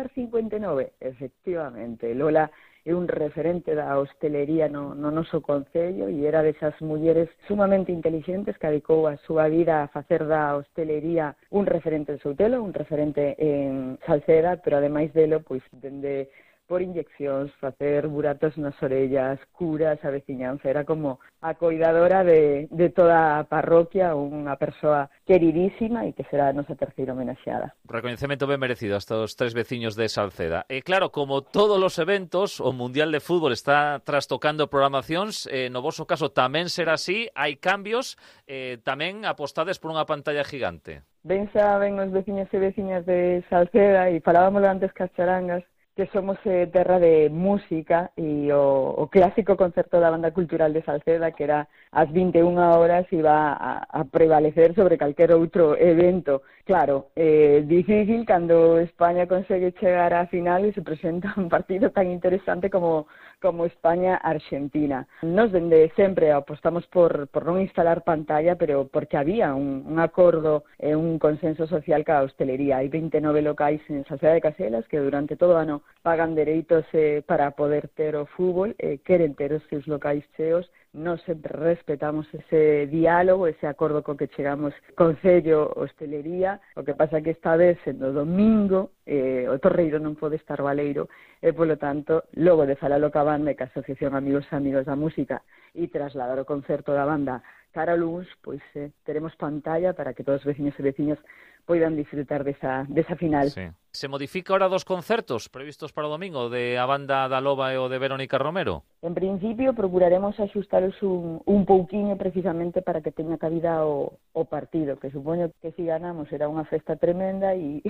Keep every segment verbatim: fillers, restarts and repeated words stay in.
Bar cincuenta e nove, efectivamente. Lola é un referente da hostelería no, no noso concello e era desas mulleres sumamente inteligentes que dedicou a súa vida a facer da hostelería un referente en Soutelo, un referente en Salceda, pero ademais delo, pois, dende por inyeccións, facer buratos nas orellas, curas a veciñanza, era como a coidadora de, de toda a parroquia, unha persoa queridísima e que será a nosa terceira homenaxeada. Recoñecemento ben merecido a estos tres veciños de Salceda. E claro, como todos os eventos, o Mundial de Fútbol está trastocando programacións, eh, no voso caso tamén será así, hai cambios, eh, tamén apostades por unha pantalla gigante. Ben saben os veciños e veciñas de Salceda, e falábamos antes cas charangas, que somos eh, terra de música e o, o clásico concerto da Banda Cultural de Salceda, que era ás vinte e unha horas, iba a, a prevalecer sobre calquer outro evento. Claro, é eh, difícil cando España consegue chegar á final e se presenta un partido tan interesante como, como España-Argentina. Nos dende sempre apostamos por, por non instalar pantalla, pero porque había un, un acordo e eh, un consenso social ca hostelería. Hai vinte e nove locais en Salceda de Caselas que durante todo o ano pagan dereitos eh, para poder ter o fútbol, eh, queren ter os seus locais cheos. Nós sempre respetamos ese diálogo, ese acordo co que chegamos Concello, hostelería. O que pasa que esta vez, sendo domingo, eh, o Torreiro non pode estar baleiro, e, polo tanto, logo de falalo ca banda e ca Asociación Amigos e Amigos da Música e trasladar o concerto da banda cara a luns, pois eh, teremos pantalla para que todos os veciños e veciñas poidan disfrutar desa, desa final. Sí. Se modifica ahora dos concertos previstos para o domingo, de a banda da Loba e o de Verónica Romero? En principio, procuraremos axustaros un, un pouquiño precisamente para que teña cabida o, o partido, que supoño que se ganamos será unha festa tremenda e...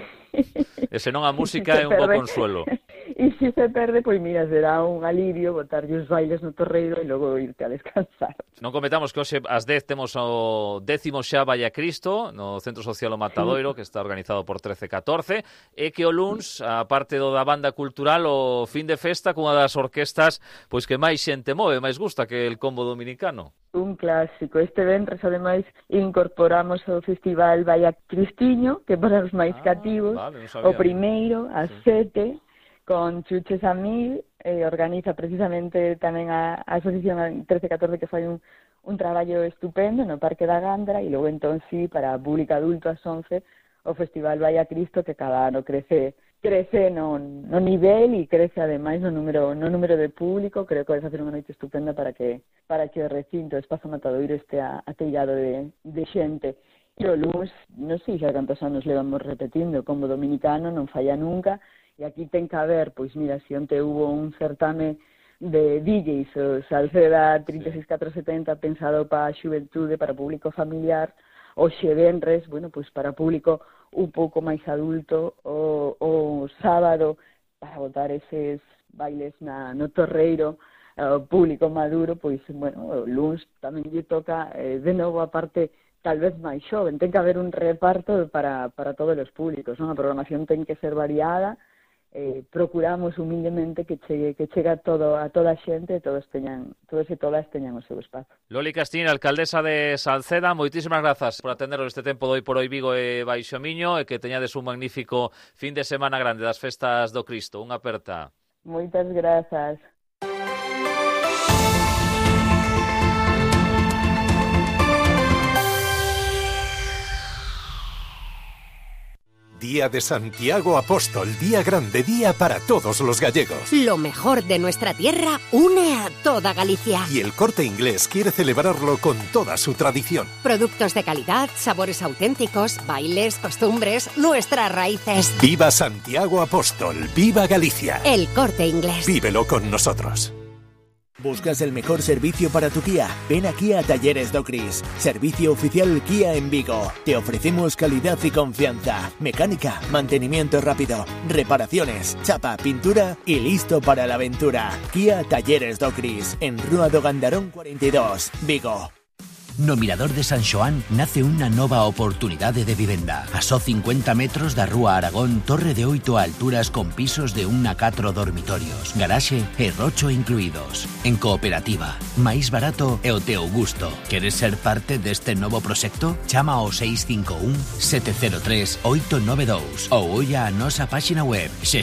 E senón a música é un bo consuelo. E se se perde, pois mira, será un alivio botarlle os bailes no Torreiro e logo irte a descansar. Non comentamos que hoxe ás dez temos o décimo xa Valla Cristo no Centro Social O Matadoiro, sí, que está organizado por trece catorce, e que o luns, a parte do da banda cultural, o fin de festa cunha das orquestas pois que máis xente move, máis gusta que el combo dominicano. Un clásico. Este venres, ademais, incorporamos o Festival Valla Cristiño, que para os máis ah, cativos, vale, o primeiro, ás sí. sete, con Chuches a Mil, eh, organiza precisamente tamén a, a Asociación trece catorce, que fai un, un traballo estupendo no Parque da Gandra, e logo entón sí, para público adulto ás once, o Festival Valla Cristo, que cada ano crece crece no, no nivel e crece ademais no número no número de público. Creo que vai facer unha noite estupenda para que para que o recinto, o Espazo Matadoiro, este atellado de, de xente. E o luns, non sei xa cantos anos levamos repetindo, como dominicano non falla nunca, e aquí ten que haber, pois mira, se onte hubo un certame de D Js, o Salceda trinta e seis catrocentos setenta, pensado para a xuventude, para público familiar, o xevenres, bueno, pois para público un pouco máis adulto, o, o sábado para botar eses bailes na, no Torreiro, o público maduro, pois, bueno, o luns tamén lle toca, eh, de novo, a parte tal vez máis xoven. Ten que haber un reparto para, para todos os públicos, non? A programación ten que ser variada, eh, procuramos humildemente que chegue, que chega todo a toda a xente, todos teñan, todos e todas teñan o seu espazo. Loli Castín, alcaldesa de Salceda, moitísimas grazas por atenderos este tempo de Hoy por Hoy Vigo e Baixo Miño, e que teñades un magnífico fin de semana grande das festas do Cristo. Unha aperta. Moitas grazas. Día de Santiago Apóstol, día grande, día para todos los gallegos. Lo mejor de nuestra tierra une a toda Galicia. Y el Corte Inglés quiere celebrarlo con toda su tradición. Productos de calidad, sabores auténticos, bailes, costumbres, nuestras raíces. ¡Viva Santiago Apóstol! ¡Viva Galicia! El Corte Inglés. Vívelo con nosotros. ¿Buscas el mejor servicio para tu Kia? Ven aquí a Talleres Docris, servicio oficial Kia en Vigo. Te ofrecemos calidad y confianza, mecánica, mantenimiento rápido, reparaciones, chapa, pintura y listo para la aventura. Kia Talleres Docris, en Rúa do Gandarón cuarenta y dos, Vigo. No Mirador de San Xoán nace unha nova oportunidade de vivenda. A só cincuenta metros da Rúa Aragón, torre de oito alturas con pisos de un a catro dormitorios, garaxe e rocho incluídos. En cooperativa, máis barato e o teu gusto. Queres ser parte deste novo proxecto? Chama ao seis cinco un, sete cero tres, oito nove dous ou olla a nosa páxina web xestión